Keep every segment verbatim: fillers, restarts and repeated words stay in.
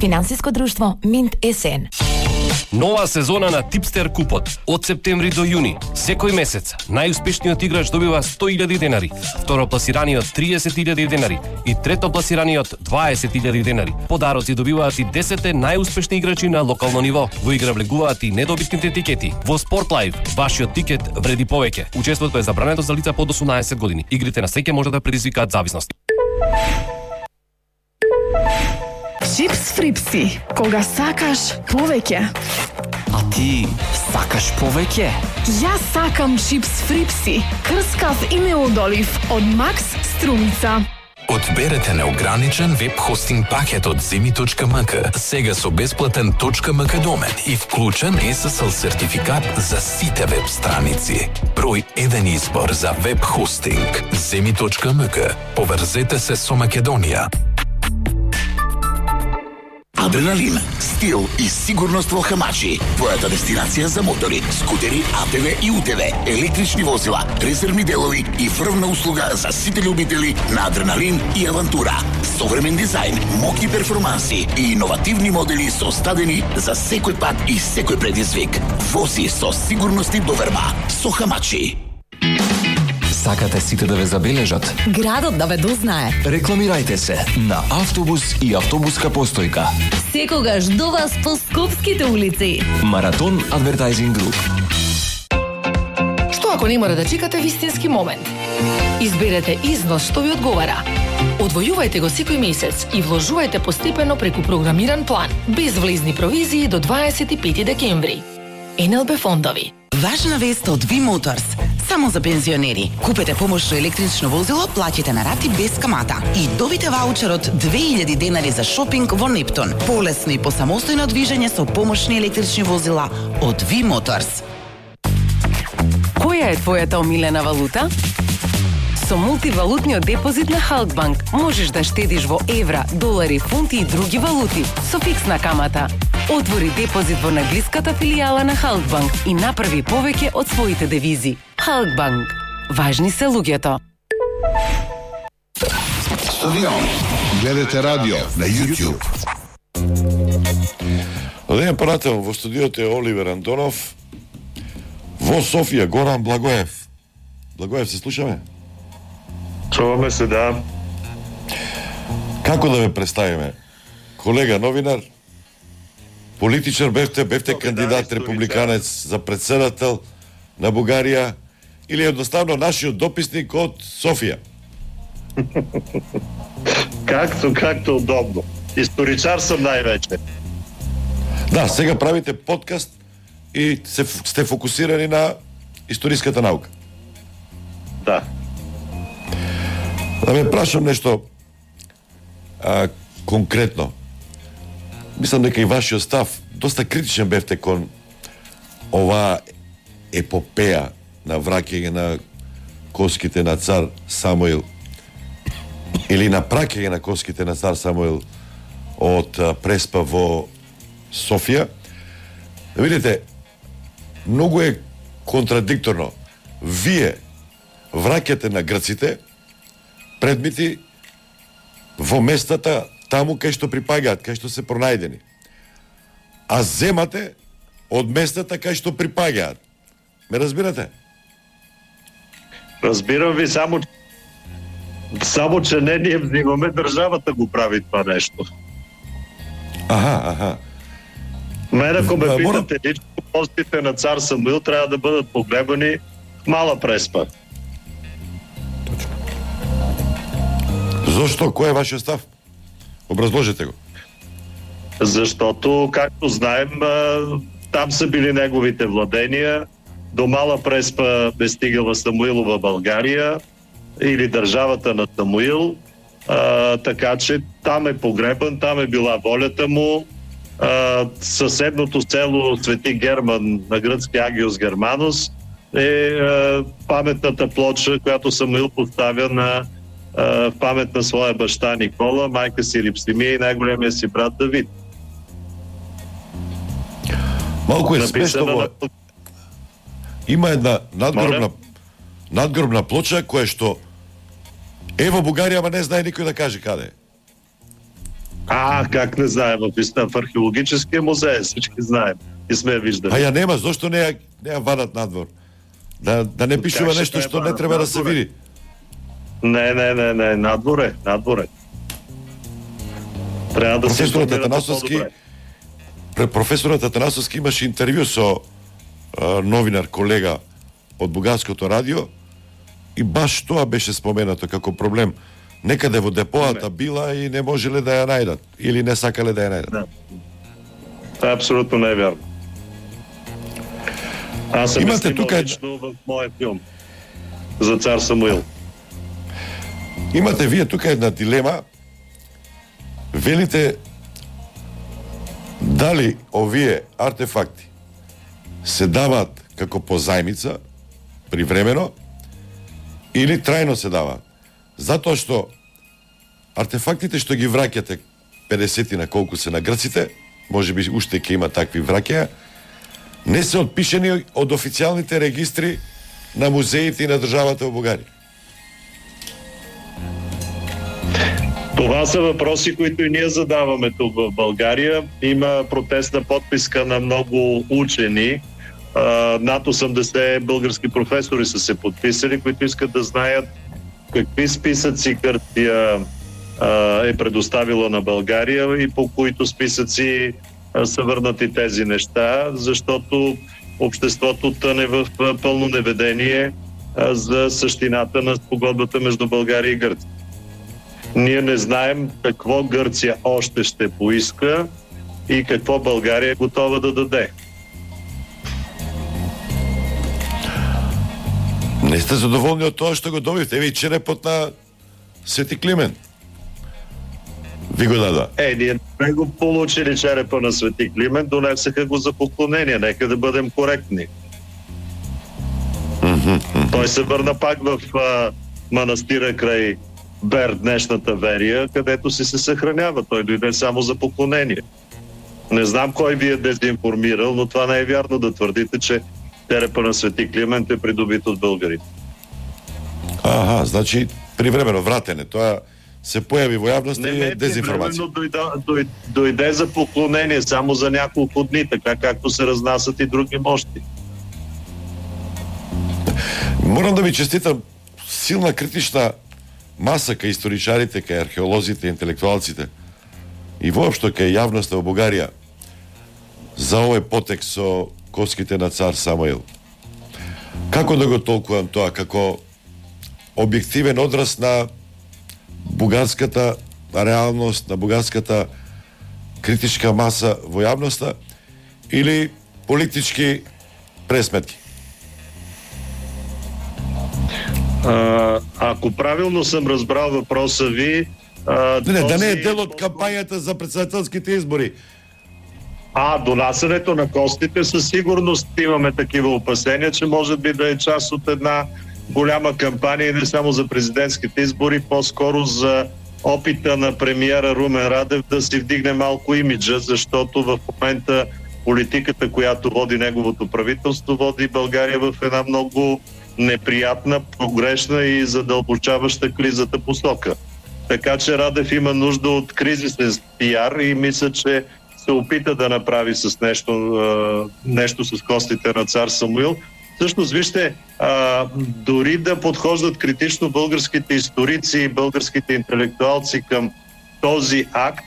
Финансиско друштво Минт СН. Нова сезона на Типстер купот од септември до јуни. Секој месец најуспешниот играч добива сто илјади денари, второпласираниот триесет илјади денари и третопласираниот дваесет илјади денари. Подароци добиваат и десетте најуспешни играчи на локално ниво. Во игра влегуваат и недобитните тикети. Во Спортлайв вашиот тикет вреди повеќе. Учеството е забрането за лица под осумнаесет години. Игрите на среќа може да предизвикаат зависност. Чипс фрипси, кога сакаш повеќе. А ти сакаш повеќе? Јас сакам чипс фрипси, крскав и неодолив од Макс Струмица. Одберете неограничен веб хостинг пакет од земи точка ем ка, сега со бесплатен .mk домен и вклучен ес ес ел сертификат за сите веб страници. Број еден избор за веб хостинг. земи точка ем ка. Поврзете се со Македонија. Адреналин, стил и сигурност во Хамачи. Твојата дестинација за мотори, скутери, а те ве и у те ве, електрични возила, резервни делови и врвна услуга за сите љубители на адреналин и авантура. Современ дизајн, моќни перформанси и иновативни модели составени за секој пат и секој предизвик. Вози со сигурност и доверба со Хамачи. Сакате сите да ве забележат? Градот да ве дознае. Рекламирајте се на автобус и автобуска постојка. Секогаш до вас по скопските улици. Маратон Адвертајзинг Груп. Што ако не мора да чекате вистински момент? Изберете износ што ви одговара. Одвојувајте го секој месец и вложувајте постепено преку програмиран план, без влезни провизии до дваесет и пети декември. ен ел би фондови. Важна вест од Ви Моторс. Само за пензионери. Купете помошно електрично возило, плаќате на рати без камата и добите ваучерот две илјади денари за шопинг во Нептун. Полесно и посамостојно движење со помошни електрични возила од Ви Моторс. Која е твојата омилена валута? Со мултивалутниот депозит на Халкбанк можеш да штедиш во евра, долари, фунти и други валути со фиксна камата. Отвори депозит во најблиската филијала на Халкбанк и направи повеќе од своите девизи. Халкбанк. Важни се луѓето. Стадион. Гледате радио на YouTube. Ден прател во студиото е Оливер Антонов. Во Софија Горан Благоев. Благоев, се слушаме? Чуваме се, да. Како да ве представиме? Колега новинар, политичар бевте, бевте кандидат да, републиканец за председател на Бугарија или едноставно нашиот дописник од Софија? Както, както удобно. Историчар сам највече. Да, сега правите подкаст и се, сте фокусирани на историската наука. Да. Да ме прашам нешто а, конкретно. Мислам дека и вашиот став доста критичен бевте кон оваа епопеја на враќање на коските на цар Самуил или на праќање на коските на цар Самуил од а, Преспа во Софија. Да видите, многу е контрадикторно. Вие враќате на грците предмети во местата таму кај што припагаат, кај што се пронајдени. А земате од местата кај што припагаат. Ме разбирате? Разбирам ви, само само че не ние взимаме, државата го прави това нешто. Аха, аха. Мене, ако ме Да, питате морам... лично, костите на цар Самуил трябва да бъдат погребани в Мала Преспа. Зошто? Кој е вашиот став? Образложете го. Защото, както знаем, там са били неговите владения. До Мала Преспа е стигала Самуилова България или държавата на Самуил. А, така че там е погребан, там е била волята му. А, съседното село Свети Герман на гръцки Агиос Германос е а, паметната плоча, която Самуил поставя на в памет на своя баща Никола, майка си Рипсимия и най-големия си брат Давид. Малко е смешно. На... Има една надгробна, надгробна плоча која што е во Бугарија, ама не знае никој да каже каде е. А, как не знаем, в археологическия музей, всички знаем и сме я виждали. А ја нема, зошто не ја, не ја вадат надвор? Да, да не пишува нешто што не треба да се види. Не, не, не, не, надворе, надворе. Треба да се професорот информирате Атанасовски, по-добре. професорот Атанасовски имаше интервју со а, новинар колега од Бугарското радио и баш тоа беше споменато како проблем. Некаде во депоата била и не можеле да ја најдат или не сакале да ја најдат. Да. Тоа апсолутно не е вярно. Аз съм Имате снимал тука лично в моя филм за цар Самуил. Имате вие тука една дилема. Велите дали овие артефакти се даваат како позајмица привремено или трајно се даваат. Затоа што артефактите што ги враќате педесет на колку се на грците, можеби уште ќе има такви враќања, не се отпишени од официјалните регистри на музеите и на државата во Бугарија. Това са въпроси, които и ние задаваме тук в България. Има протестна подписка на много учени. Над осемдесет български професори са се подписали, които искат да знаят какви списъци Гърция е предоставила на България и по които списъци са върнати тези неща, защото обществото тъне в пълно неведение за същината на спогодбата между България и Гърция. Ние не знаем какво Гърция още ще поиска и какво България е готова да даде. Не сте задоволни од тоа што го добивте? Еви черепот на Свети Климент. Ви го дада. Е, ние не го получили черепа на Свети Климент, донесаха го за поклонение. Нека да бъдем коректни. Mm-hmm. Той се върна пак в а, манастира край Бер, днешната Верия, където си се съхранява. Той дойде само за поклонение. Не знам кой ви е дезинформирал, но това не е вярно да твърдите, че черепа на Свети Климент е придобит от българите. Аха, значи привремено вратене. Тоа се появи во јавност и е дезинформација. Дойде, дойде, дойде за поклонение само за няколко дни, така както се разнасят и други мощи. Морам да ви честитам силна критична маса кај историчарите, кај археолозите, интелектуалците и воопшто кај јавноста во Бугарија за овој потек со коските на цар Самуил. Како да го толкувам тоа? Како објективен одраз на бугарската реалност, на бугарската критичка маса во јавноста или политички пресметки? А, ако правилно съм разбрал въпроса ви... А, не, не, този... да не е дел от кампањата за председателските избори. А, донасянето на костите със сигурност имаме такива опасения, че може би да е част от една голяма кампания, не само за президентските избори, по-скоро за опита на премиера Румен Радев да си вдигне малко имиджа, защото в момента политиката, която води неговото правителство, води България в една много неприятна, погрешна и задълбочаваща кризата посока. Така че Радев има нужда от кризисен пиар и мисля, че се опита да направи с нещо, нещо с костите на цар Самуил. Всъщност, вижте, а, дори да подхождат критично българските историци и българските интелектуалци към този акт,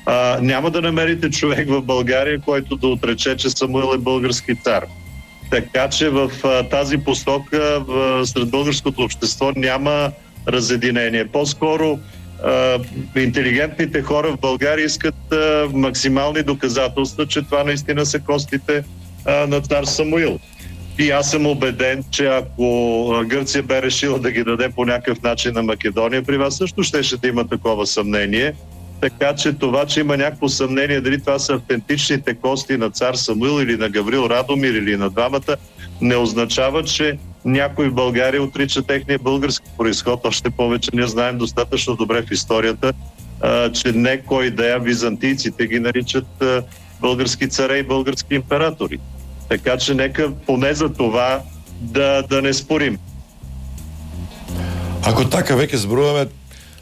а, няма да намерите човек в България, който да отрече, че Самуил е български цар. Така че в а, тази посока в, сред българското общество няма разединение. По-скоро а, интелигентните хора в България искат а, максимални доказателства, че това наистина са костите а, на цар Самуил. И аз съм убеден, че ако Гърция бе решила да ги даде по някакъв начин на Македония, при вас също щеше да има такова съмнение. Така че това, че има някакво съмнение дали това са автентичните кости на цар Самуил или на Гаврил Радомир или на двамата, не означава, че някой в България отрича техния български произход. Още повече ние знаем достатъчно добре в историята, че не кой да е, византийците ги наричат български царе и български императори. Така че нека поне за това да, да не спорим. Ако така веќе зборуваме,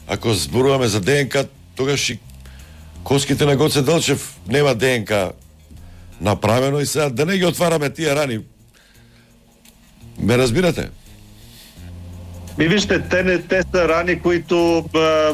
ако зборуваме за ДНК, тогаш и Коските на Гоце Делчев нема ДНК направено и сега да не ги отвараме тие рани. Ме разбирате? Ми вижте, те не те са рани, които а,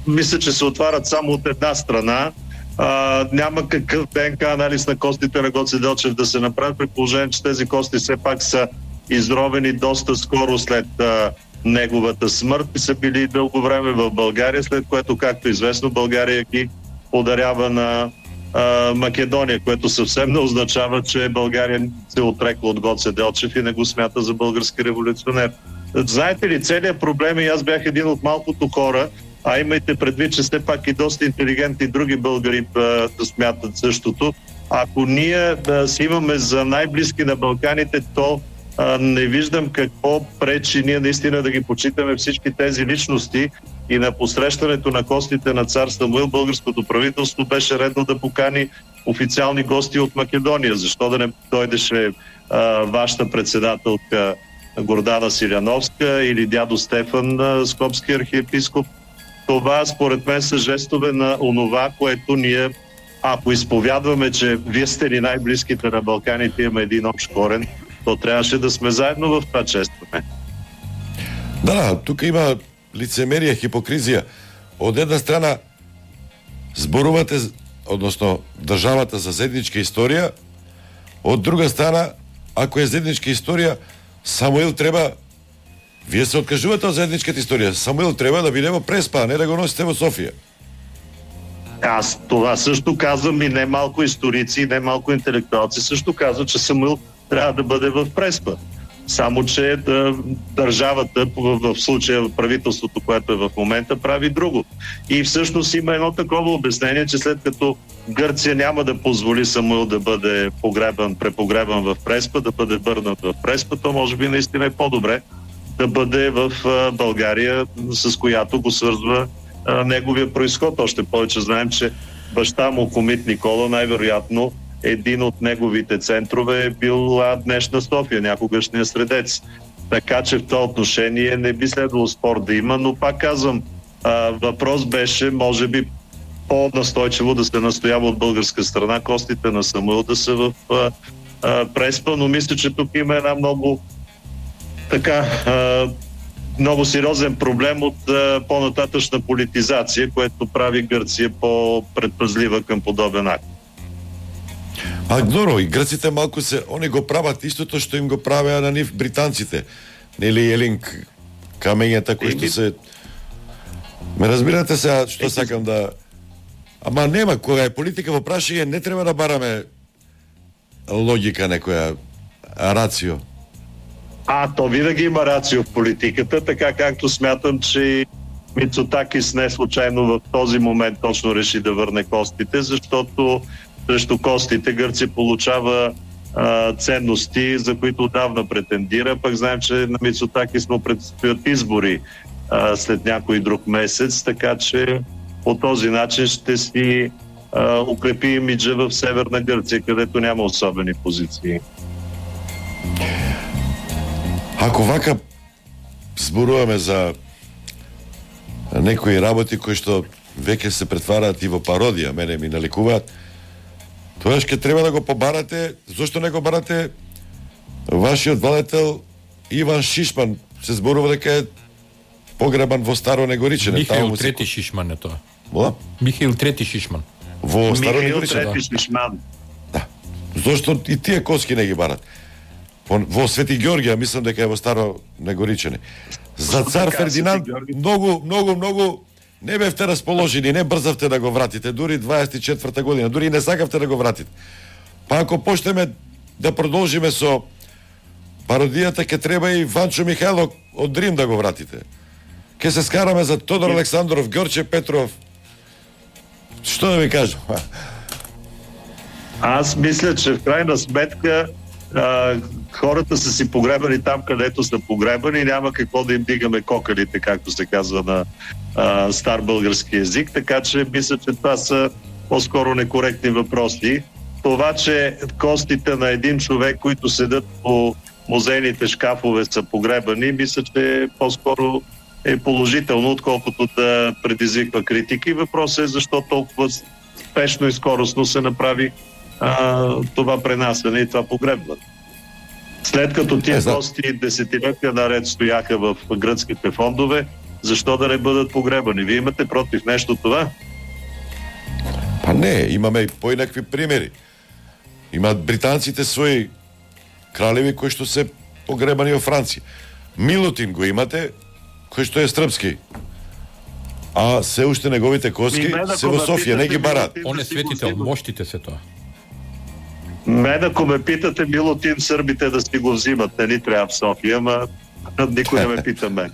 мисля, че се отварят само от една страна. А, няма какъв ДНК анализ на костите на Гоце Делчев да се направи, при положение, че тези кости все пак са изровени доста скоро след а, неговата смърт и са били дълго време в България, след което, както известно, България ги подарява на а, Македония, което съвсем не означава, че България се отрекла от Гоце Делчев и не го смята за български революционер. Знаете ли, целият проблем, и аз бях един от малкото хора, а имайте предвид, че все пак и доста интелигентни други българи а, да смятат същото. Ако ние да си имаме за най-близки на Балканите, то а, не виждам какво пречи ние наистина да ги почитаме всички тези личности и на посрещането на костите на цар Самуил българското правителство беше редно да покани официални гости от Македония. Защо да не дойдеше а, вашата председателка Гордана Силяновска или дядо Стефан, скопски архиепископ? Това според мен са жестове на онова, което ние, ако изповядваме, че вие сте ли най-близките на Балканите, имаме един общ корен, то трябваше да сме заедно в това честване. Да, да, тук има лицемерие, хипокризија. Од една страна зборувате, односно државата за заедничка историја, од друга страна, ако е заедничка историја, Самуил треба, вие се откажувате од заедничката историја, Самуил треба да биде во Преспа, а не да го носите во Софија. Аз това също казвам и не малко историци, и не малко интелектуалци също казват, че Самуил трябва да бъде в Преспа. Само, че да, държавата, в, в случая правителството, което е в момента, прави друго. И всъщност има едно такова обяснение, че след като Гърция няма да позволи Самуил да бъде погребан, препогребан в Преспа, да бъде върнат в Преспа, то може би наистина е по-добре да бъде в България, с която го свързва а, неговия произход. Още повече знаем, че баща му, комит Никола, най-вероятно един от неговите центрове е бил днешна София, някогашния Средец. Така че в това отношение не би следвало спор да има, но пак казвам, а, въпрос беше, може би, по-настойчиво да се настоява от българска страна костите на Самуил да са в а, а, Преспа, но мисля, че тук има една много така а, много сериозен проблем от а, по-нататъчна политизация, което прави Гърция по-предпазлива към подобен акт. А добро, и грците малку се, они го прават истото што им го правеа на нив британците. Нели Елинг камењата кои што се... Ме разбирате сега што сакам да... Ама нема, кога е политика во прашање, не треба да бараме логика некоја, рацио. А, то винаги има рацио в политиката, така както смятам, че Мицотакис не случайно в този момент точно реши да върне костите, защото срещу костите Гърция получава а, ценности, за които отдавна претендира. Пък знаем, че на Мицотакис му предстоят избори а, след някой друг месец, така че по този начин ще си а, укрепи имиджа в Северна Гърция, където няма особени позиции. Ако вака зборуваме за некои работи кои што веќе се претвараат и во пародија, мене ми наликуваат, тоа ќе треба да го побарате, зошто не го барате вашиот владетел Иван Шишман, се зборува дека е погребан во Старо Негоричене. Михаил Трети Шишман е тоа. Во? Михаил Трети Шишман. Во Старо Михаил Негоричене. Трети Шишман. Да. Зошто и тие коски не ги барат? Во Свети Георгија, мислам дека е во Старо Негоричене. За цар Фердинанд многу, многу, многу не бевте расположени, не брзавте да го вратите, дури дваесет и четврта година, дури не сакавте да го вратите. Па ако почнеме да продолжиме со пародијата, ке треба и Ванчо Михайлов од Рим да го вратите. Ке се скараме за Тодор Александров, Ѓорче Петров. Што да ви кажам? Аз мисля, че в крайна сметка а, хората са си погребани там, където са погребани, няма какво да им дигаме кокалите, както се казва на а, стар български език, така че мисля, че това са по-скоро некоректни въпроси. Това, че костите на един човек, които седат по музейните шкафове, са погребани, мисля, че е по-скоро е положително, отколкото да предизвиква критики. Въпросът е защо толкова спешно и скоростно се направи а, това пренасене и това погребване. След като тия гости десетилетия наред стояха в гръцките фондове, защо да не бъдат погребани? Вие имате против нещо това? Па не, имаме и поинакви примери. Имаат британците свои кралеви кои што се погребани во Франција. Милутин го имате, кој што е српски. А се уште неговите коски се во Софија, не ги барат. Он е светител, моштите се тоа. Мен, ако ме питате, Милутин сърбите да си го взимат, не ни трябва в София, ама никой не ме пита мен.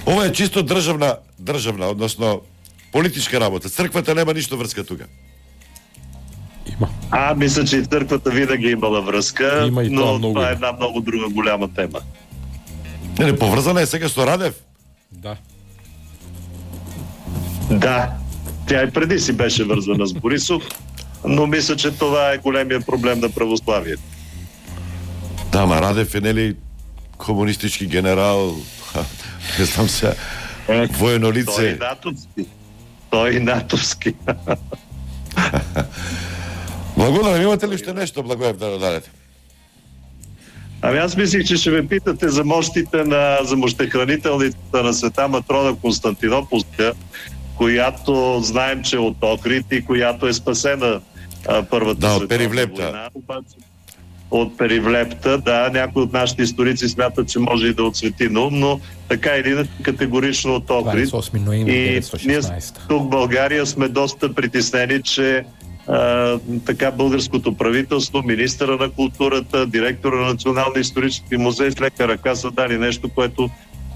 Ова е чисто државна, државна, односно политичка работа. Црквата нема ништо врска тука. Има. А, мисля, че и църквата винаги имала връзка, Има и но това, много. това е една много друга голяма тема. Не, не, поврзана е сега со Радев. Да. Да, тя и преди си беше вързана с Борисов, но мисля, че това е големия проблем на православието. Да, ма Радев е, нели, комунистички генерал, не знам сега, Е, воено лице. Той и натовски. Той и натовски. Благодарам, имате ли ще нещо, Благоев, да дадете? Ами аз мислих, че ще ме питате за мощите на за мощехранителницата на Света Матрона Константинополска, която знаем, че е от Охрид и която е спасена а, първата да, световна от Перивлепта. война. Обаче, от Перивлепта, да, някои от нашите историци смятат, че може и да отсвети на ум, но така или иначе категорично от Охрид. двадесет и осми ноември И деветстотин и ние шестнадесета. тук в България сме доста притеснени, че а, така българското правителство, министъра на културата, директора на Националния исторически музей с лека ръка са дали нещо, което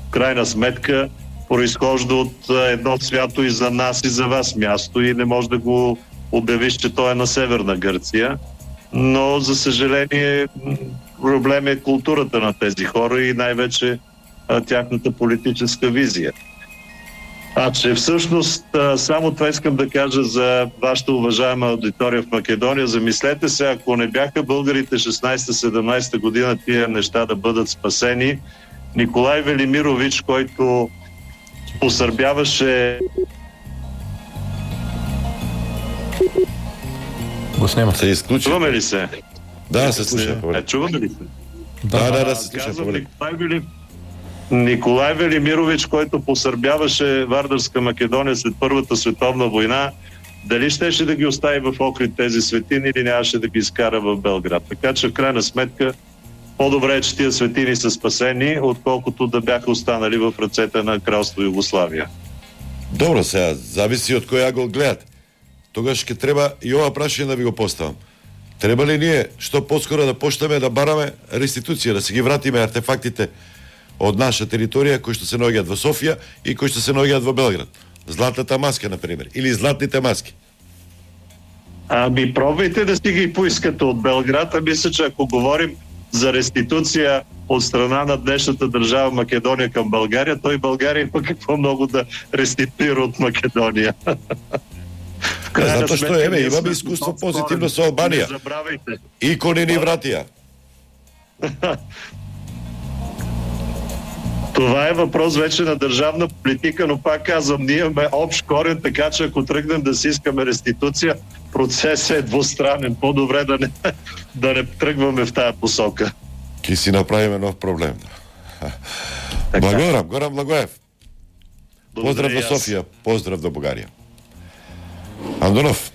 в крайна сметка произхожда от а, едно свято и за нас и за вас място и не може да го обявиш, че то е на Северна Гърция. Но, за съжаление, проблем е културата на тези хора и най-вече а, тяхната политическа визия. А че всъщност само това искам да кажа за вашата уважаема аудитория в Македония. Замислете се, ако не бяха българите шестнадесета-седемнадесета година тия неща да бъдат спасени, Николай Велимирович, който посърбяваше... Го снема. Се изключи. Чуваме ли се? Да, се слуша. Е, чуваме ли се? Да, да, да, се слуша. Казвам, Николай, Вели... Николай Велимирович, който посърбяваше Вардарска Македония след Първата световна война, дали щеше да ги остави в Охрид тези светини или нямаше да ги изкара в Белград. Така че в крайна сметка по-добре е, че тия светини са спасени, отколкото да бяха останали в ръцете на кралство Югославия. Добро, сега, зависи од кој ъгол гледате. Тогаш ќе треба и ова прашање да ви го поставам. Треба ли ние што поскоро да почнеме да бараме реституција, да си ги вратиме артефактите од наша територија кои што се наоѓаат во Софија и кои што се наоѓаат во Белград? Златната маска, например, или златните маски. Ами пробвайте да си ги поискате от Белград, а мисля, че ако говорим за реституция от страна на днешната държава Македония към България, той България има какво много да реституира от Македония. Затоа што еве имаме искуство позитивно со Албанија. Не забравяйте. Икони ни вратија. Това е въпрос вече на държавна политика, но пак казвам, ние имаме общ корен, така че ако тръгнем да си искаме реституция, процесът е двустранен. По-добре да не, да не тръгваме в тая посока. Ки си направиме нов проблем. Благодарам, Горан Благоев. Поздрав до Софија, поздрав до Бугарија. Андонов,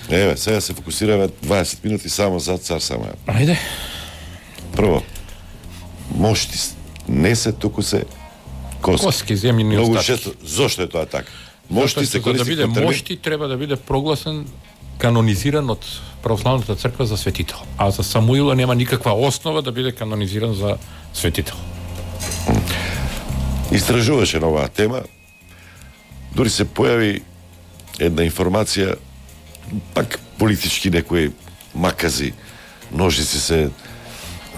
еве, сега се фокусираме дваесет минути само за Цар Самуил. Ајде. Прво, мошти не се туку се коски. Коски, земјни Многу остатки. често, зошто е тоа така? Мошти се За да користи биде како термин. мошти, треба да биде прогласен, канонизиран од православната црква за светител. А за Самуила нема никаква основа да биде канонизиран за светител. Истражуваше на оваа тема. Дури се појави една информација, пак политички некои макази, ножици се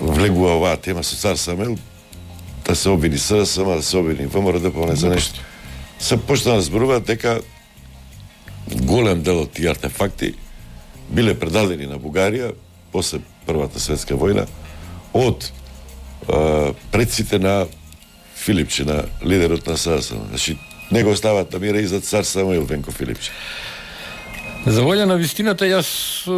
влегува оваа тема со Цар Самуил, да се обвини СДСМ, да се обвини ВМРО, поне за нешто. Се почна да зборуваат дека голем дел од тие артефакти биле предадени на Бугарија после Првата светска војна од предците на Филипче, на лидерот на САС. Значи, него остават на мира и за цар Самуил Венко Филипче. За волја на вистината, јас е,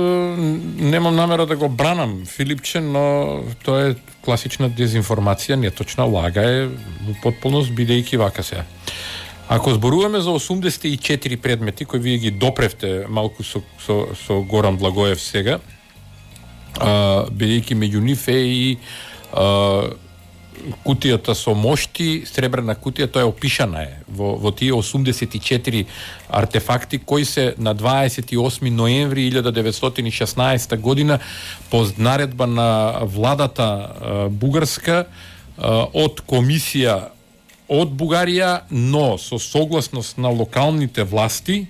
немам намера да го бранам Филипче, но тоа е класична дезинформација, неточна, лага е во потполност, бидејќи вака сега. Ако зборуваме за осумдесет и четири предмети кои вие ги допревте малку со, со, со Горан Благоев сега, а, бидејќи меѓу нив е и а, кутијата со мошти, сребрена кутија, тоа е опишана е во, во тие осумдесет и четири артефакти кои се на дваесет и осми ноември илјада деветстотини и шеснаесета година по наредба на владата а, бугарска а, од комисија од Бугарија, но со согласност на локалните власти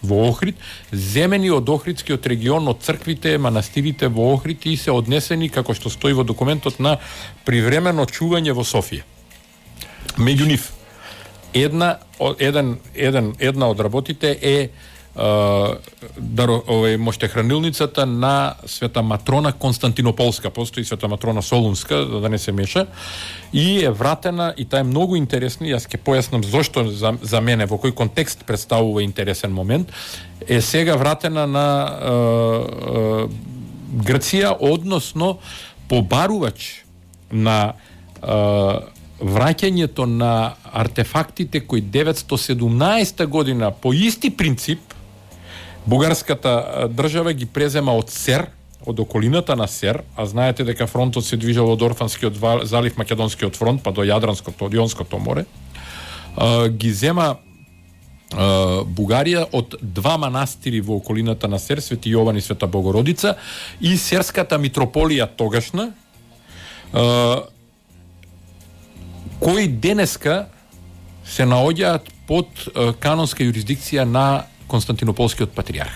во Охрид, земени од Охридскиот регион, од црквите, манастирите во Охрид и се однесени, како што стои во документот, на привремено чување во Софија. Меѓу нив, една, еден, еден, една од работите е даро, овој моштехранилницата на Света Матрона Константинополска, постои Света Матрона Солунска, за да не се меша, и е вратена, и таа е многу интересна, јас ќе појаснам зошто за, за мене, во кој контекст представува интересен момент, е сега вратена на е, е, Грција, односно побарувач на е, враќањето на артефактите кои деветстотини и седумнаесета година по исти принцип бугарската држава ги презема од Сер, од околината на Сер, а знаете дека фронтот се движел од Орфанскиот залив, Македонскиот фронт, па до Јадранското, од Јонското море, ги зема Бугарија од два манастири во околината на Сер, Свети Јован и Света Богородица, и Серската митрополија тогашна, кои денеска се наоѓаат под е, канонска юрисдикција на Константинополскиот патриарх.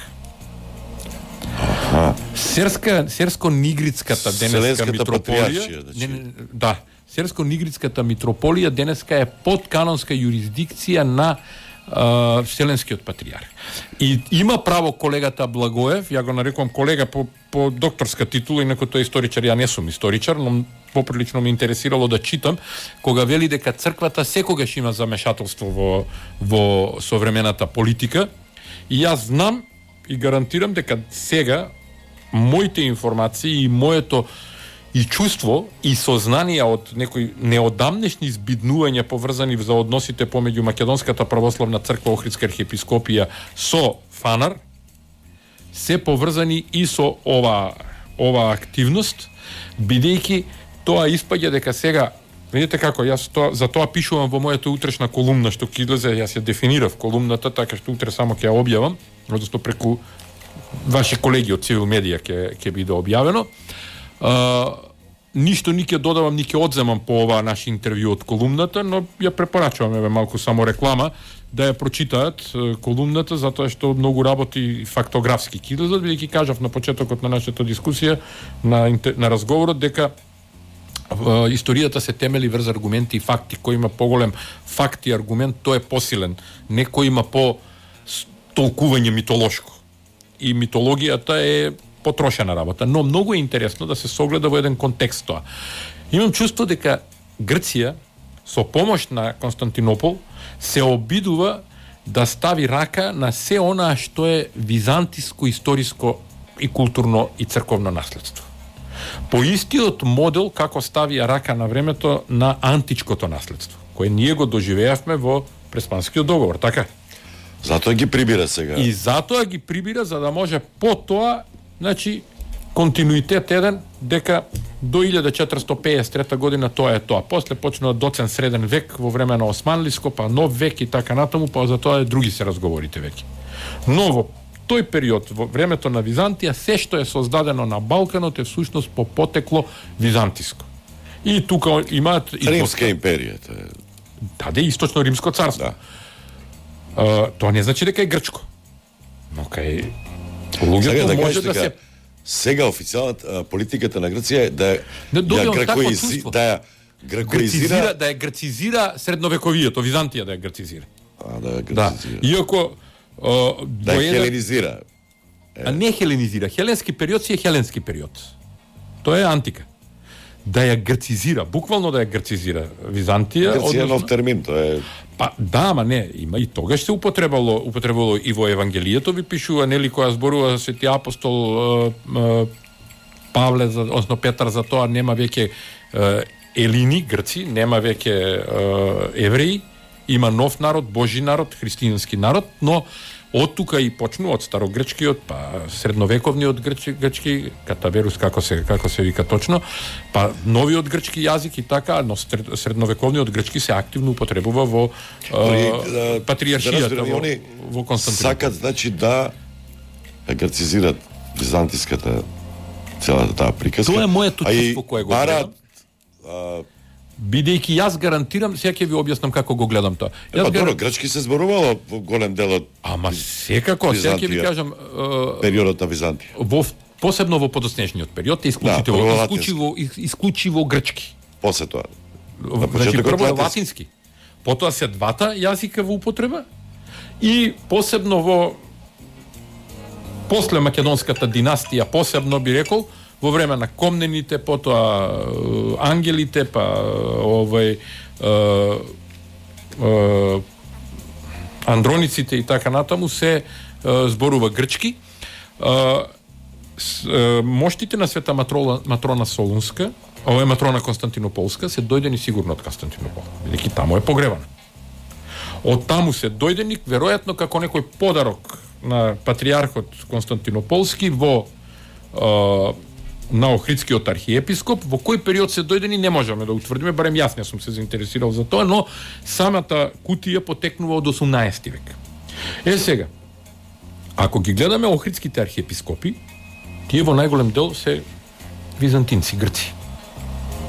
Аха. Серска, Серско-Нигридската денеска митрополија, значи. не, не, да, Серско-Нигридската митрополија денеска е под канонска юрисдикција на Uh, Вселенскиот патриарх. И има право колегата Благоев, ја го нарекувам колега по, по докторска титула, инако тој е историчар, ја не сум историчар, но поприлично ме интересирало да читам, кога вели дека црквата секогаш има замешателство во, во современата политика, и јас знам и гарантирам дека сега моите информации и моето и чувство и сознание од некои неодамнешни збиднувања поврзани за односите помеѓу Македонската православна црква, Охридска архиепископија со ФАНАР се поврзани и со ова ова активност, бидејќи тоа испаѓа дека сега, видите како јас тоа, за тоа пишувам во мојата утрешна колумна што ќе излезе, јас ја дефинирав колумната, така што утре само ќе ја објавам, односно преку ваши колеги од Цивил Медија ќе ќе биде објавено. Uh, ништо ни ќе додавам, ни ќе одземам по ова наше интервју од колумната, но ја препорачувам, еве малку само реклама, да ја прочитаат uh, колумната, затоа што многу работи фактографски кидозат, бидејќи кажав на почетокот на нашата дискусија, на, на разговорот, дека uh, историјата се темели врз аргументи и факти. Кој има поголем факт и аргумент, тој е посилен. Некој има по толкување митолошко. И митологијата е потрошена работа, но многу е интересно да се согледа во еден контекст тоа. Имам чувство дека Грција со помош на Константинопол се обидува да стави рака на се онаа што е византиско, историско и културно и црковно наследство. По истиот модел како ставија рака на времето на античкото наследство, кое ние го доживеавме во Преспанскиот договор, така? Затоа ги прибира сега. И затоа ги прибира за да може потоа, значи, континуитет еден, дека до илјада четиристотини пеесет и трета година тоа е тоа. После почнува доцен среден век во време на Османлиско, па нов век и така натаму, па за тоа е други се разговорите веќе. Но во тој период, во времето на Византија, се што е создадено на Балканот е всушност по потекло византиско. И тука имаат и Римска империја. Да, де источно римско царство. Да. Uh, тоа не значи дека е грчко. Но кај луѓето да може да се сега официјалната политиката на Грција е да не ја грекоизи, да ја грекоизира, да ја грецизира средновековието, Византија да ја грецизира. А да ја Да. грецизира. Иако uh, да ја хеленизира. А не хеленизира. Хеленски период си е хеленски период. Тоа е антика. да ја грцизира, буквално да ја грцизира Византија. Грција е нов термин, тоа е. Па да, ама не, има и тогаш се употребало, употребало и во Евангелието ви пишува, нели, која зборува свети апостол е, е, Павле, за, односно Петар, за тоа нема веќе е, елини, грци, нема веќе е, евреи, има нов народ, Божи народ, христијански народ, но од тука и почну од старогрчкиот, па средновековниот грчки, грчки катаверус, како се како се вика точно, па новиот грчки јазик и така, но средновековниот грчки се активно употребува во е, патриаршијата, да во, во Константинопол. Сакат, значи, да грцизират византиската целата таа приказка. Тоа е моето чувство кое го гледам. Бидејќи јас гарантирам, сега ќе ви објаснам како го гледам тоа. Е, па добро, грчки се зборувало во голем дел од Ама секако, сега ќе ви кажам, периодот на Византија. Во посебно во подоснежниот период е исклучително, да, исклучиво исклучиво грчки. После тоа. Значи прво е латински. Потоа се двата јазика во употреба и посебно во после македонската династија, посебно би рекол, во време на комнените, потоа ангелите, па овој е, е, андрониците и така натаму се е, зборува грчки. Е, с, е, моштите на света Матрона, Матрона Солунска, ова е Матрона Константинополска, се дојдени сигурно од Константинопол, бидејќи таму е погребана. Од таму се дојдени, веројатно како некој подарок на патриархот Константинополски во е, на Охридскиот архиепископ, во кој период се дојдени не можеме да утврдиме, барем јас не сум се заинтересирал за тоа, но самата кутија потекнува од осумнаесети век. Е сега, ако ги гледаме Охридските архиепископи, тие во најголем дел се византинци, грци.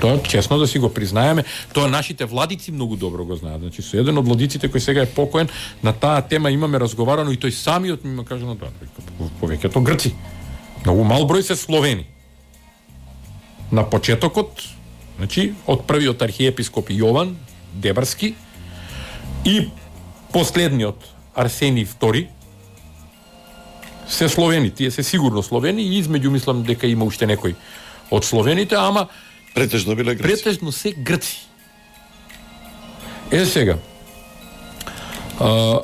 Тоа честно да си го признаеме, тоа нашите владици многу добро го знаат. Значи со еден од владиците кој сега е покоен, на таа тема имаме разговарано и тој самиот ми каже на тоа, повеќето грци. Многу мал број се словени. На почетокот, значи, од првиот архиепископ Јован Дебарски и последниот Арсенij втори се словени, тие се сигурно словени и измеѓу мислам дека има уште некој од словените, ама претежно биле грци. Претежно се грци. Е сега, а,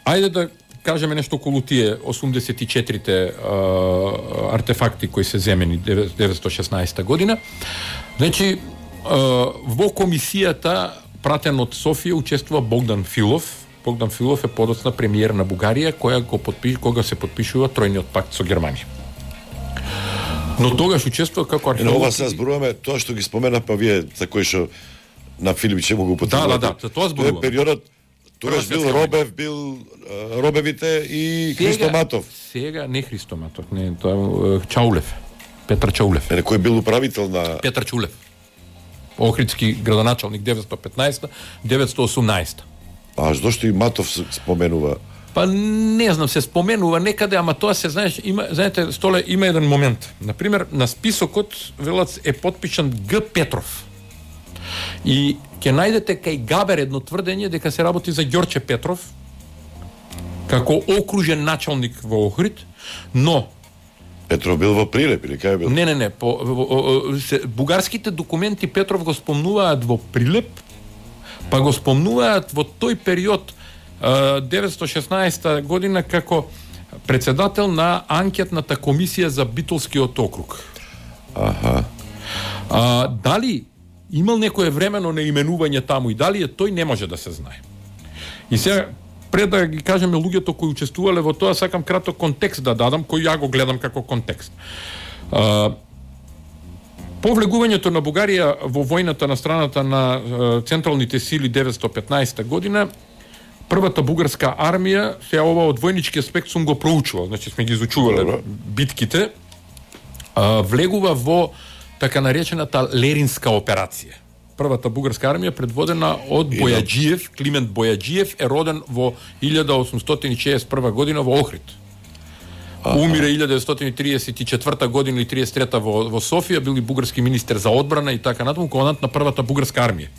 ајде да кажеме нешто околу тие осумдесет и четирите а, артефакти кои се земени деветстотини и шеснаесета година. Значи, а, во комисијата пратен од Софија учествува Богдан Филов. Богдан Филов е подоцна премиер на Бугарија, која го подпиш, кога се подпишува тројниот пакт со Германија. Но тогаш учествува како археолог. Ова се зборуваме тоа што ги спомена па вие за кој што на Филипче го употребувате. Да, да, да, тоа зборуваме. Тоа е периодот. Тогаш бил Робев, бил uh, Робевите и сега, Христоматов. Сега не Христоматов, не, тоа е Чаулев. Петар Чаулев. Е, кој бил управител на Петар Чаулев. Охридски градоначалник деветстотини и петнаесета до деветстотини и осумнаесета. А зошто и Матов се споменува? Па не знам, се споменува некаде, ама тоа се знаеш, има, знаете, Столе, има еден момент. Например, на списокот велат е подпишан Г Петров. И ќе најдете кај Габер едно тврдење дека се работи за Ѓорче Петров како окружен началник во Охрид, но Петров бил во Прилеп или кај бил? Не, не, не, по во, во, се, бугарските документи Петров го спомнуваат во Прилеп, па го спомнуваат во тој период деветстотини и шеснаесета година како председател на анкетната комисија за Битолскиот округ. Аха. А, дали имал некое времено наименување таму и дали е тој, не може да се знае. И сега, пред да ги кажеме луѓето кои учествувале во тоа, сакам краток контекст да дадам, кој ја го гледам како контекст. А, по влегувањето на Бугарија во војната на страната на а, централните сили деветстотини и петнаесета година, првата бугарска армија, се ова од војнички аспект сум го проучувал, значи сме ги изучувале битките, а, влегува во така наречената Леринска операција. Првата бугарска армија предводена од Бојаджиев, Климент Бојаджиев е роден во илјада осумстотини шеесет и прва година во Охрид. Умира илјада деветстотини триесет и четврта година или триесет и трета во, во Софија, бил и бугарски министер за одбрана и така натаму, командант на првата бугарска армија.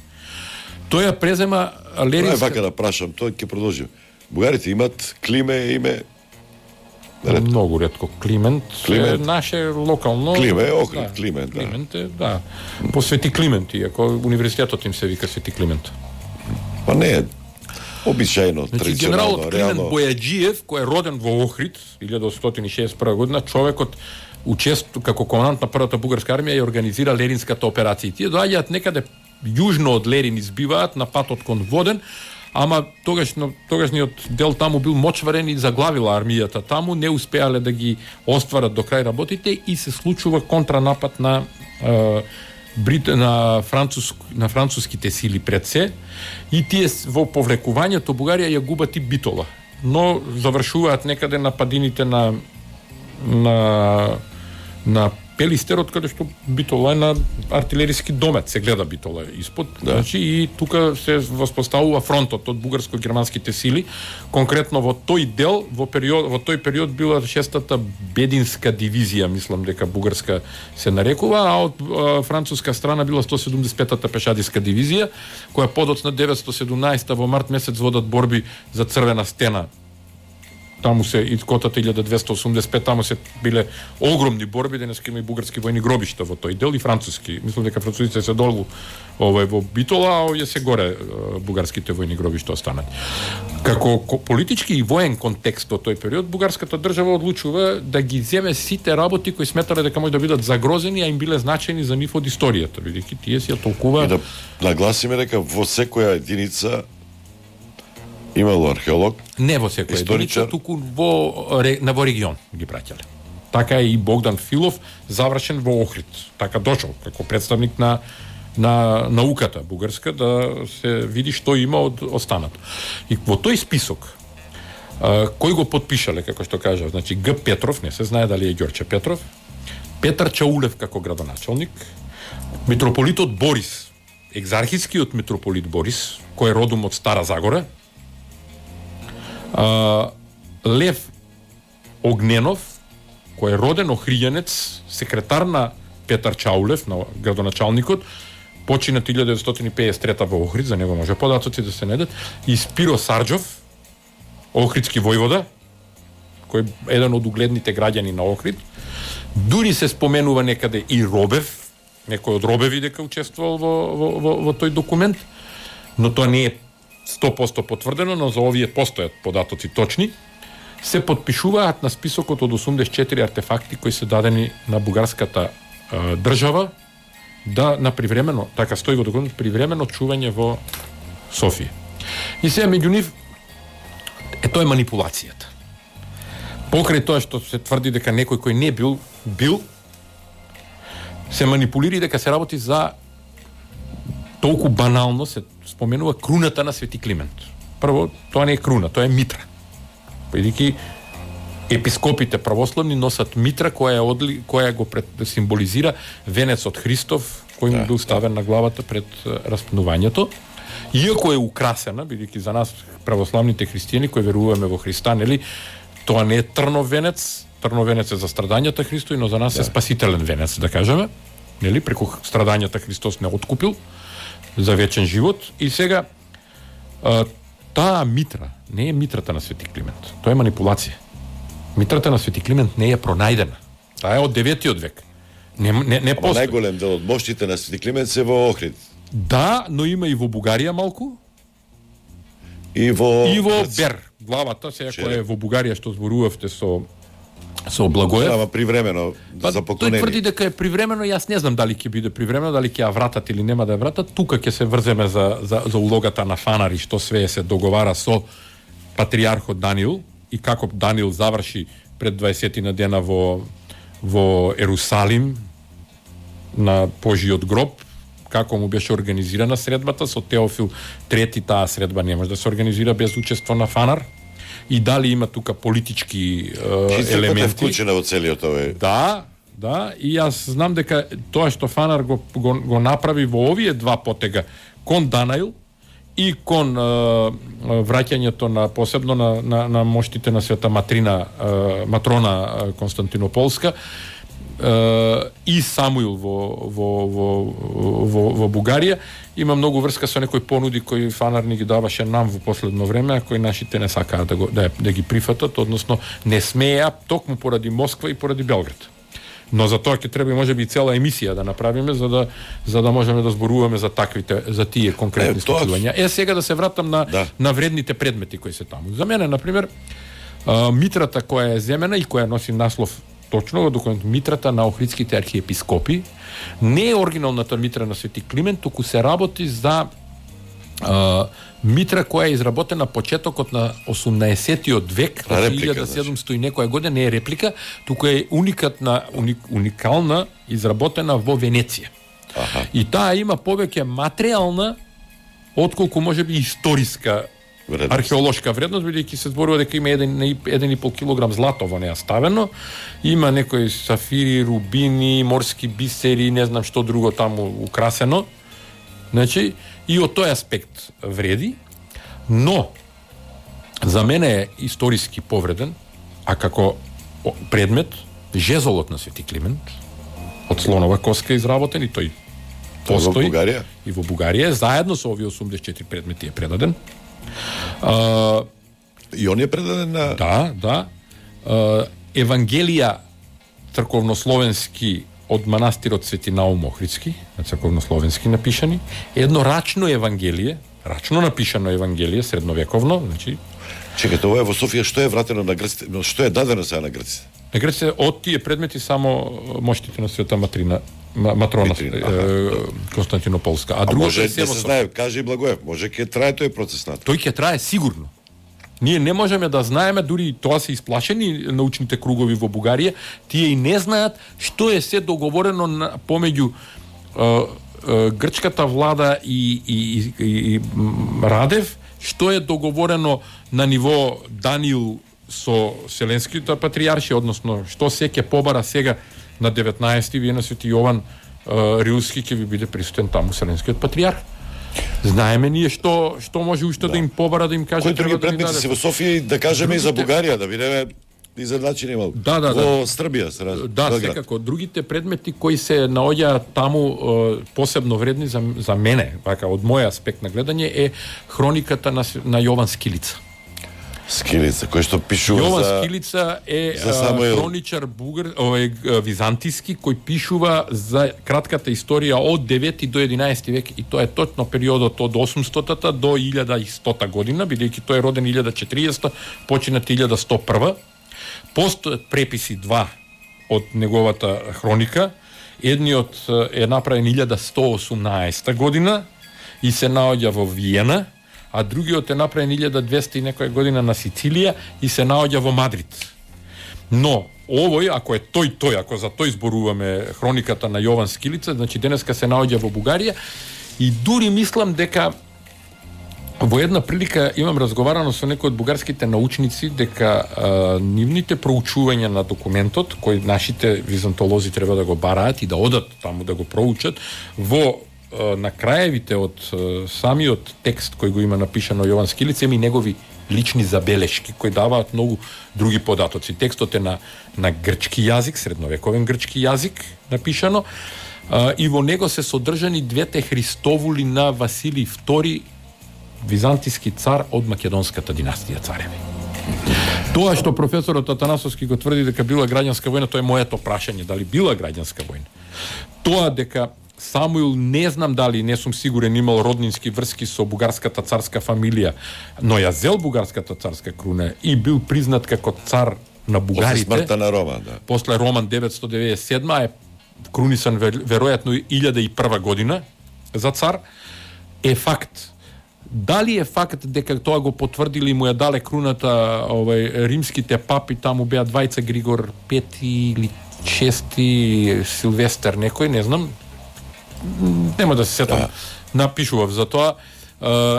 Тој ја презема Леринска... Тоа е вака да прашам, тоа ќе продолжим. Бугарите имат климе, име Ретко. Многу ретко. Климент, Климент. е наше локално. Климе, Охрид, да, Климент, да. Климент е, да. По Свети Климент, иако универзитетот им се вика Свети Климент. Па не е обичајно, Значи, традиционално, генералот Климент реално. Бојаджиев, кој е роден во Охрид, илјада осетстотини шеесет и прва година, човекот учество како командант на првата бугарска армија ја организира Леринската операција. Тие доаѓаат некаде јужно од Лерин, избиваат на патот кон Воден, ама тогаш тогашниот дел таму бил мочварен и заглавила армијата таму, не успеале да ги остварат до крај работите и се случува контранапад на е, Брит, на француск, на француските сили пред се, и тие во повлекувањето Бугарија ја губат и Битола, но завршуваат некаде на падините на на на Пелистерот, каде што Битола е на артилериски домет, се гледа Битола испод, да. Значи и тука се воспоставува фронтот од бугарско-германските сили, конкретно во тој дел, во период во тој период била шестата бединска дивизија, мислам дека бугарска се нарекува, а од а, француска страна била сто седумдесет и петата пешадиска дивизија, која подоцна деветстотини и седумнаесета во март месец водат борби за Црвена стена. Таму се и котата илјада двесте осумдесет и пет, таму се биле огромни борби, денеска има и бугарски војни гробишта во тој дел и француски. Мислам дека французите се долу овој во Битола, а овие се горе бугарските војни гробишта останат. Како политички и воен контекст во тој период, бугарската држава одлучува да ги земе сите работи кои сметале дека може да бидат загрозени, а им биле значени за нив од историјата, бидејќи тие си ја толкува. И да нагласиме дека во секоја единица имало археолог, не во секоја единица, туку во, на во регион ги праќале. Така е и Богдан Филов, завршен во Охрид. Така дошол како представник на на науката бугарска да се види што има од останато. И во тој список а, кој го подпишале, како што кажа, значи Г. Петров, не се знае дали е Ѓорче Петров, Петар Чаулев како градоначалник, митрополитот Борис, екзархискиот митрополит Борис, кој е родом од Стара Загора, Uh, Лев Огненов, кој е роден охријанец, секретар на Петар Чаулев, на градоначалникот, починат илјада деветстотини пеесет и трета во Охрид, за него може податоци да се недат, и Спиро Сарџов, охридски војвода, кој е еден од угледните граѓани на Охрид. Дури се споменува некаде и Робев, некој од Робеви дека учествувал во, во, во, во тој документ, но тоа не е сто проценти потврдено, но за овие постојат податоци точни, се подпишуваат на списокот од осумдесет и четири артефакти кои се дадени на бугарската е, држава да на привремено, така стои во документ, привремено чување во Софија. И сега меѓу нив е тоа е манипулацијата. Покрај тоа што се тврди дека некој кој не бил бил, се манипулира дека се работи за толку банално се споменува круната на Свети Климент. Прво, тоа не е круна, тоа е митра. Бидејќи епископите православни носат митра која е одли, која го пред, символизира венецот Христов кој му бил ставен на главата пред распнувањето. Иако е украсена, бидејќи за нас православните христијани кои веруваме во Христа, нели, тоа не е трнов венец, трнов венец е за страдањата Христови, но за нас да. Е спасителен венец, да кажеме. Нели, преку страдањата Христос не откупил за вечен живот. И сега а, таа митра не е митрата на Свети Климент. Тоа е манипулација. Митрата на Свети Климент не е пронајдена. Таа е од деветиот век. Не не не постои. Најголем дел од моштите на Свети Климент се во Охрид. Да, но има и во Бугарија малку. И во и во Бер, главата се која е во Бугарија што зборувавте со со Благоев. Ама привремено па, за поклонение. Тој тврди дека е привремено, јас не знам дали ќе биде привремено, дали ќе ја вратат или нема да ја вратат. Тука ќе се врземе за за за улогата на фанари, што све се договара со патриархот Даниил и како Даниил заврши пред дваесетина дена во во Ерусалим на Божиот гроб, како му беше организирана средбата со Теофил трети, таа средба не може да се организира без учество на фанар. И дали има тука политички е, елементи. Е вклучена во целиот овој. Да, да, и јас знам дека тоа што Фанар го, го, го направи во овие два потега кон Данаил и кон е, враќањето на посебно на, на, на моштите на Света Матрина, е, Матрона Константинополска, и Самуил во во во во во Бугарија има многу врска со некои понуди кои Фанар ни ги даваше нам во последно време, а кои нашите не сакаат да го да, да ги прифатат, односно не смеа токму поради Москва и поради Белград. Но за тоа ќе треба и можеби и цела емисија да направиме за да за да можеме да зборуваме за таквите за тие конкретни случања. Е сега да се вратам на да. на вредните предмети кои се таму. За мене на пример митрата која е земена и која носи наслов точно во документ митрата на охридските архиепископи не е оригиналната митра на Свети Климент, туку се работи за а, митра која е изработена почетокот на осумнаесеттиот век, од илјада седумстото и некоја година, не е реплика, туку е уникатна, уник, уникална, изработена во Венеција. Аха. И таа има повеќе материјална отколку можеби историска вредност. Археолошка вредност, бидејќи се зборува дека има еден и пол килограм злато во неа ставено, има некои сафири, рубини, морски бисери, не знам што друго таму украсено. Значи, и од тој аспект вреди, но за мене е историски повреден, а како предмет, жезолот на Свети Климент, од слонова коска изработен, и тој постои. Во Бугарија? И во Бугарија, заедно со овие осумдесет и четири предмети е предаден. Uh, и он е предаден на... Да, да. Uh, Евангелија црковнословенски од манастирот Свети Наум Охридски, на црковнословенски напишани, едно рачно Евангелие, рачно напишано Евангелие, средновековно, значи... Чекате, ова е во Софија, што е вратено на грците, што е дадено сега на грците? На грците, од тие предмети само моштите на Света Матрина, Матрона Митрина, е, Константинополска. А, а другото може е да се знае, каже и Благоев, може ќе трае тој процес на тој ќе трае сигурно. Ние не можеме да знаеме, дури и тоа се исплашени научните кругови во Бугарија, тие и не знаат што е се договорено на, помеѓу е, е, грчката влада и, и, и, и Радев, што е договорено на ниво Даниил со Вселенските патријарши, односно што се ќе побара сега на деветнаесети вие на Свети Јован Рилски ќе ви биде присутен таму Вселенскиот патријарх. Знаеме ние што што може уште да, да им побара, да им каже кои други предмети се во Софија и да кажеме другите... и за Бугарија, да бидеме изедначени малку. Да, да, во да. Србија се раз... Да, Белград. Секако. Другите предмети кои се наоѓаат таму посебно вредни за, за мене, вака од мој аспект на гледање, е хрониката на, на Јован Скилица. Скилица, кој што пишува Јован за... Скилица е за Самуил... хроничар бугар, овој византиски, кој пишува за кратката историја од девети до единаесети век, и тоа е точно периодот од осумстотата до илјада и стота година, бидејќи тој е роден илјада четириесета, починат илјада сто прва. Постојат преписи два од неговата хроника. Едниот е направен илјада сто осумнаесета година и се наоѓа во Виена, а другиот е направен илјада двесте и некоја година на Сицилија и се наоѓа во Мадрид. Но овој, ако е тој тој, ако за тој зборуваме хрониката на Јован Скилица, значи денеска се наоѓа во Бугарија, и дури мислам дека во една прилика имам разговарано со некои од бугарските научници дека а, нивните проучувања на документот, кои нашите византолози треба да го бараат и да одат таму да го проучат, во на краевите од самиот текст кој го има напишано Јован Скилица, има и негови лични забелешки кои даваат многу други податоци. Текстот е на на грчки јазик, средновековен грчки јазик напишано, а, и во него се содржани двете Христовули на Василий втори, византиски цар од македонската династија цареви. Тоа што професорот Атанасовски го тврди дека била граѓанска војна, тоа е моето прашање, дали била граѓанска војна. Тоа дека Самуил, не знам дали, не сум сигурен, имал роднински врски со бугарската царска фамилија, но ја зел бугарската царска круна и бил признат како цар на бугарите. После смртта на Роман, да. После Роман деветстотини деведесет и седма е крунисан веројатно илјада и прва година за цар, е факт. Дали е факт дека тоа го потврдили и му ја дале круната овај римските папи, таму беа двајца, Григор пети или шести, Силвестер некој, не знам. Нема да се сетам, да. Напишував за тоа,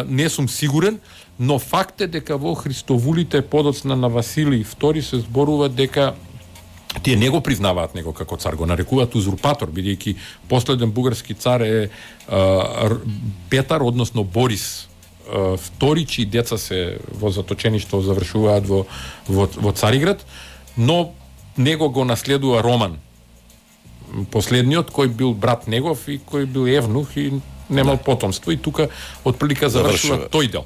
не сум сигурен, но факт е дека во Христовулите подоцна на Василий втори се зборува дека тие не го признаваат него како цар, го нарекуваат узурпатор, бидејќи последен бугарски цар е а, Петар, односно Борис а, втори, чии деца се во заточеништо завршуваат во, во, во Цариград, но него го наследува Роман последниот кој бил брат негов и кој бил евнух и немал потомство и тука отприлика завршува тој дел.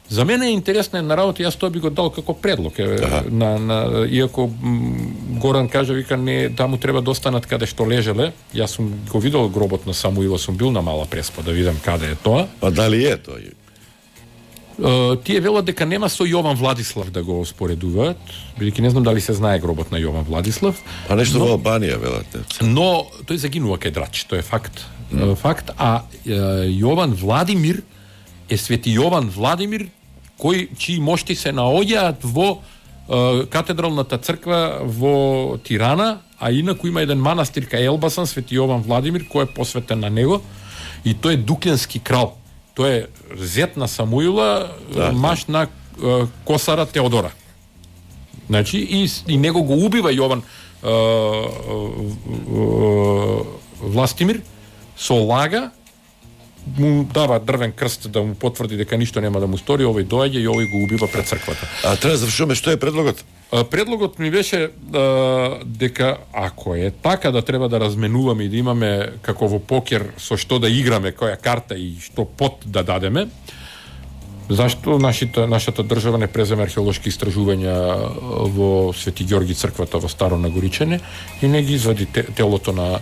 За мене е интересна една работа, јас тоа би го дал како предлог. Е, на, на, иако м, Горан кажа, вика, не, да му треба да останат каде што лежеле. Јас сум го видел гробот на Самуила, сум бил на Мала Преспа да видам каде е тоа. Па дали е тоа? Uh, тие велат дека нема со Јован Владислав да го споредуваат, бидејќи не знам дали се знае гробот на Јован Владислав. А нешто но, во Албанија велат. Но тој загинува кај Драч, тоа е факт. Mm. Факт, а uh, Јован Владимир е свети Јован Владимир кој чии мошти се наоѓаат во uh, катедралната црква во Тирана, а инаку има еден манастир кај Елбасан, свети Јован Владимир, кој е посветен на него и тој е дуклянски крал. Тој е зет на Самуила, да, маш на uh, косара Теодора. Значи, и, и него го убива Јован uh, uh, Властимир со лага, му дава дрвен крст да му потврди дека ништо нема да му стори, овој доаѓа и овој го убива пред црквата. А треба да завршуваме, што е предлогот? А, предлогот ми беше а, дека ако е така да треба да разменуваме и да имаме како во покер со што да играме, која карта и што пот да дадеме, зашто нашата, нашата држава не преземе археолошки истражувања во Свети Ѓорги црквата во Старо Нагоричене и не ги извади телото на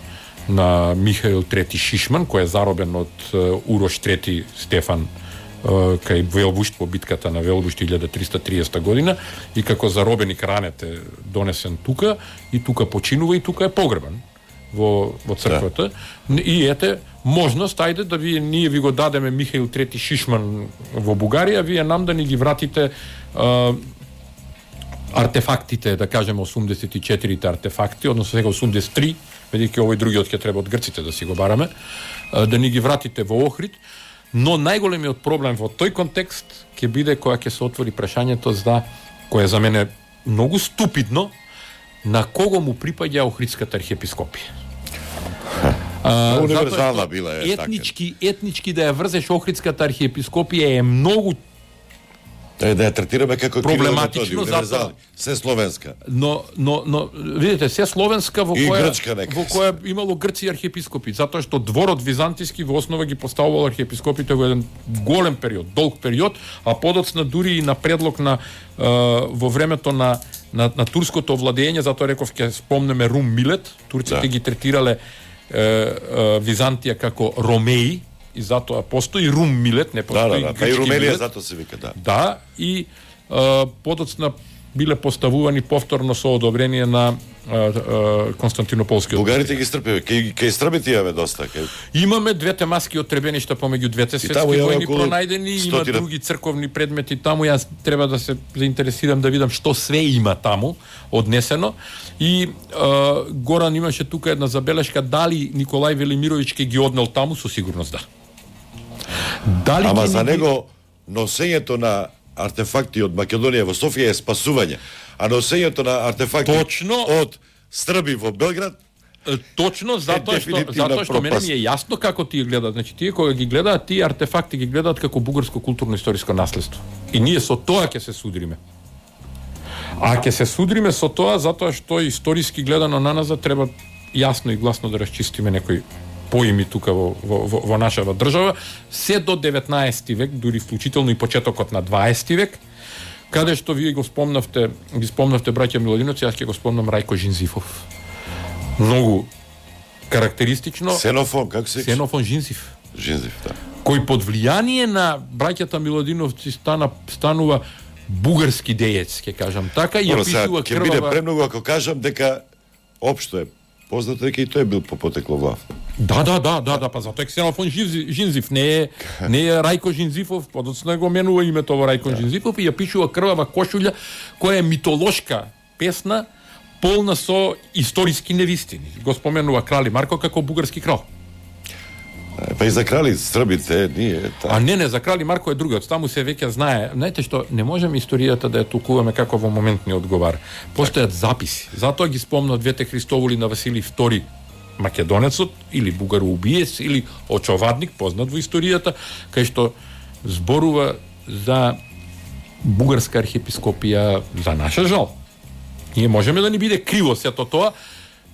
на Михаил трети Шишман, кој е заробен од uh, Урош трети Стефан uh, кај Велбушт по битката на Велбушт илјада триста и триесета година и како заробеник ранет е донесен тука и тука починува и тука е погребан во, во црквата. Да. И ете, можност, ајде да вие, ние ви го дадеме Михаил трети Шишман во Бугарија, вие нам да ни ги вратите uh, артефактите, да кажеме осумдесет и четирите артефакти, односно сега осумдесет и три, бидејќи овој другиот ќе треба од грците да си го бараме, да ни ги вратите во Охрид, но најголемиот проблем во тој контекст ќе биде кога ќе се отвори прашањето за кое за мене многу ступидно, на кого му припаѓа Охридската архиепископија. А, универзална била е етнички, така. Етнички да ја врзеш Охридската архиепископија е многу да ја третираме како проблематично, затоа се словенска. Но но но видите, се словенска во и која нека, во која имало грци архиепископи, затоа што дворот византиски во основа ги поставувал архиепископите во еден голем период, долг период, а подоцна дури и на предлог на е, во времето на на, на турското владење, затоа реков ќе спомнеме Рум Милет, турците да. ги третирале е, е, Византија како Ромеи, и затоа постои Рум Милет, не постои да, да, да. И Румелија затоа се вика, да. Да, и а, подоцна биле поставувани повторно со одобрение на а, а, Константинополскиот. Бугарите ги стрпеве, кај кај стрбите имаме доста. Кај... Имаме двете маски од требеништа помеѓу двете светски војни пронајдени, има други црковни предмети таму, јас треба да се заинтересирам да видам што све има таму однесено. И а, Горан имаше тука една забелешка, дали Николај Велимировиќ ќе ги однел таму, со сигурност да. Дали Ама за ги... него носењето на артефакти од Македонија во Софија е спасување, а носењето на артефакти точно од Срби во Белград точно затоа што затоа што мене ми е јасно како тие гледаат, значи тие кога ги гледаат тие артефакти ги гледаат како бугарско културно-историско наследство. И ние со тоа ќе се судриме. А ќе се судриме со тоа затоа што историски гледано на назад треба јасно и гласно да расчистиме некои поими тука во, во, во, во нашава држава, се до деветнаесети век, дури вклучително и почетокот на дваесети век, каде што вие го спомнавте, ги спомнавте браќа Милодиновци, јас ќе го спомнам Рајко Жинзифов. Многу карактеристично. Сенофон, како се? Сенофон Жинзиф. Жинзиф, да. Кој под влијание на браќата Милодиновци стана станува бугарски деец, ќе кажам така, и ја пишува крвава. Ќе биде премногу ако кажам дека општо е познато дека и тој бил по потекло глав. Да, да, да, да, да, па затоа Ксенофон Жинзиф, не е не е Рајко Жинзифов, подоцна го менува името во Рајко да. Жинзифов и ја пишува крвава кошулја која е митолошка песна, полна со историски невистини. Го споменува Крали Марко како бугарски крал. Па и за крали србите ние. Та... А не, не, за Крали Марко е другиот. Таму се веќе знае. Знаете што, не можеме историјата да ја толкуваме како во момент ни одговара. Постојат записи. Затоа ги спомнав двете Христоволи на Василий втори Македонецот, или бугароубиец, или очовадник, познат во историјата, кај што зборува за бугарска архиепископија, за наша жал. Ние можеме да ни биде криво сето тоа,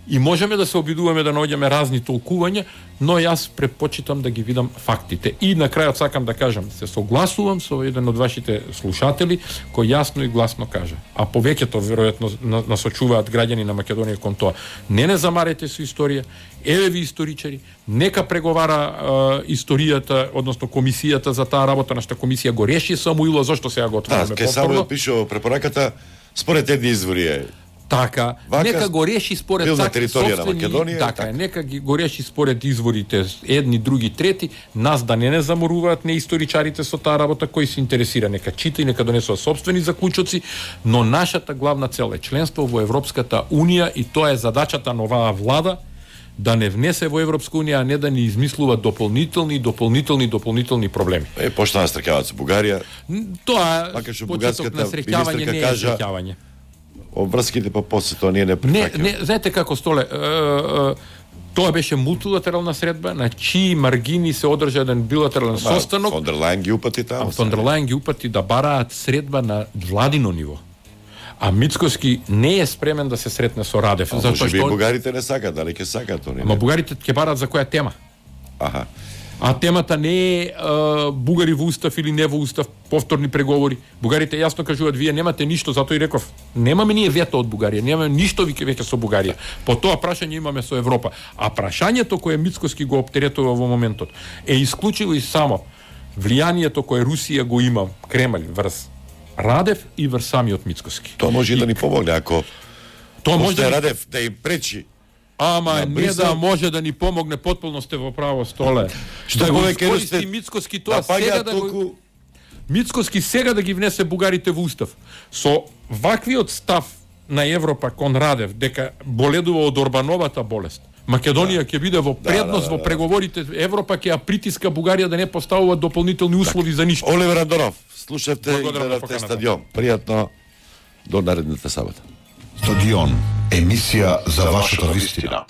И можеме да се обидуваме да наоѓаме разни толкувања, но јас препочитам да ги видам фактите. И на крајот сакам да кажам, се согласувам со еден од вашите слушатели кој јасно и гласно кажа, а повеќето веројатно насочуваат граѓани на Македонија кон тоа. Не не замарете со историја, еве ви историчари, нека преговара е, историјата, односно комисијата за таа работа, нашата комисија го реши Самуило, зашто сега го отвараме повторно? Да, ке Самуил пише препораката според едни извори е. Така, Вака, нека го реши според така собствени, на Македонија, така, така, нека ги го реши според изворите едни, други, трети, нас да не не заморуваат не историчарите со таа работа, кој се интересира, нека чита и нека донесува собствени заклучоци, но нашата главна цел е членство во Европската унија и тоа е задачата на оваа влада, да не внесе во Европска унија, а не да ни измислува дополнителни, дополнителни, дополнителни проблеми. Е, почна да стрекаваат со Бугарија. Тоа почеток на среќавање не е среќавање. Обврските па после тоа ние не прифаќаме. Не, не, знаете како Столе, е, е, тоа беше мултилатерална средба, на чии маргини се одржа еден билатерален состанок. Фон дер Лајен ги упати таму. Фон дер Лајен ги упати да бараат средба на владино ниво. А Мицкоски не е спремен да се сретне со Радев. А може би бугарите не сакаат, дали ќе сакаат они? Ама бугарите ќе бараат за која тема? Аха. А темата не е а, бугари во устав или не во устав, повторни преговори. Бугарите јасно кажуваат, вие немате ништо, затоа и реков, немаме ние вето од Бугарија, немаме ништо веќе веќе со Бугарија. По тоа прашање имаме со Европа. А прашањето кое Мицкоски го оптеретува во моментот е исклучиво и само влијанието кое Русија го има, Кремљ, врз Радев и врз самиот Мицкоски. Тоа може и да ни помогне, ако тоа може да Радев да им пречи. Ама не да може да ни помогне, потполно сте во право, Столе. Што да повеќе искористи Мицкоски тоа да сега да го... Мицкоски сега да ги внесе бугарите во устав. Со ваквиот став на Европа кон Радев, дека боледува од Орбановата болест, Македонија ќе биде во предност да, да, да, во преговорите, Европа ќе ја притиска Бугарија да не поставува дополнителни услови за ништо. Оливер Андонов, слушавте и гледавте Стадион. Пријатно до наредната сабота. Стадион, емисија за вашата вистина.